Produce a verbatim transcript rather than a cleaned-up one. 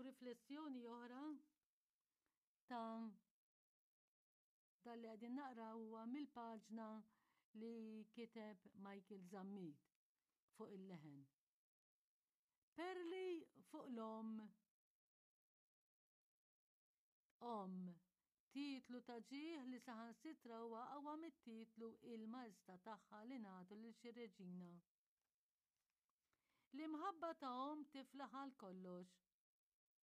Hawn riflessjoni oħra ta' dan li qegħdin naqraw huwa mill-paġna li kiteb Michael Zammit fuq il-leħen. Perli fuq l-omm. Omm, titlu ta' ġieħ li saħansitra huwa aqwa mit-titlu Il-Maestà tagħha li nagħtu lil xi reġina. L-imħabba ta' omm tiflaħ għal kollox.